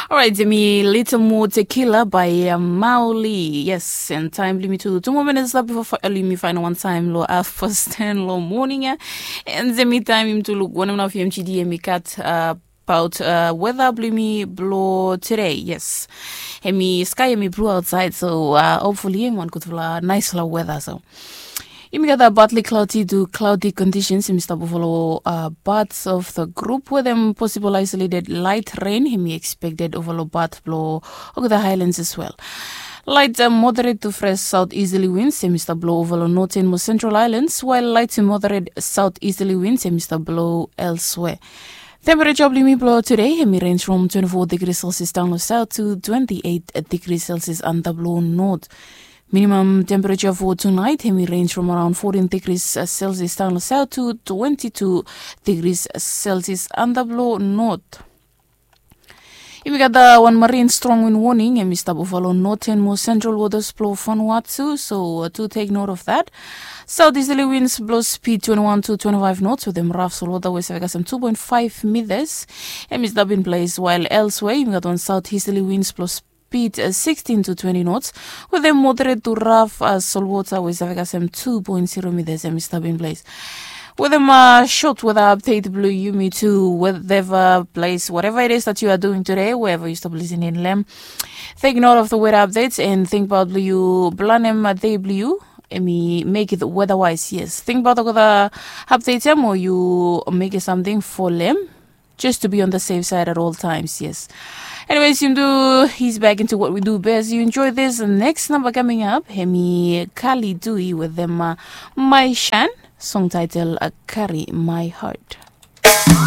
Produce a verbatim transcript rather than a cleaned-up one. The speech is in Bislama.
Orait, yumi Little More Tequila by uh, Mauli. Yes, and time limit to two more minutes left before fi- limit final one time lo half past ten lo morning. Yeah. And yumi time him to look one of M G D and we cut uh, about uh, weather blimi blo today. Yes. Hemi sky hemi blue outside, so uh, hopefully him one good for nice flower weather. So Yumi gat a partly cloudy to cloudy conditions. Yumi stap follow uh, parts of the group where them possible isolated light rain. Yumi expected overall part blow over the highlands as well. Light uh, moderate to fresh southeasterly winds. Yumi stap blow overall northern more central islands, while light to moderate southeasterly winds. Yumi stap blow elsewhere. Temperature blimi blow today. Yumi range from twenty-four degrees Celsius down south to twenty-eight degrees Celsius under blow north. Minimum temperature for tonight, hemi range from around fourteen degrees uh, Celsius down south to twenty-two degrees Celsius under blow north. Yumi gat uh, one marine strong wind warning, hemi stap overall northern more central waters blow Vanuatu, so uh, to take note of that. Southeasterly winds blow speed twenty-one to twenty-five knots with them rough soil water west Vegasam two point five meters. Hemi stap in place, while elsewhere yumi gat one southeasterly winds blow speed uh, sixteen to twenty knots, with them moderate to rough uh, soil water west Vegasam two point zero meters. Hemi stap in place. With them uh, short weather update blue yumi to whatever place, whatever it is that you are doing today, wherever you stop listening, lem. Take note of the weather updates and think about blue you blanem uh, day blue. Emi make it weather wise, yes. Think about the weather updates em or you make it something for them. Just to be on the safe side at all times, yes. Anyways, you do he's back into what we do best. You enjoy this next number coming up. Hemi Kali Dui with them uh, My Shan, song title uh, Carry My Heart.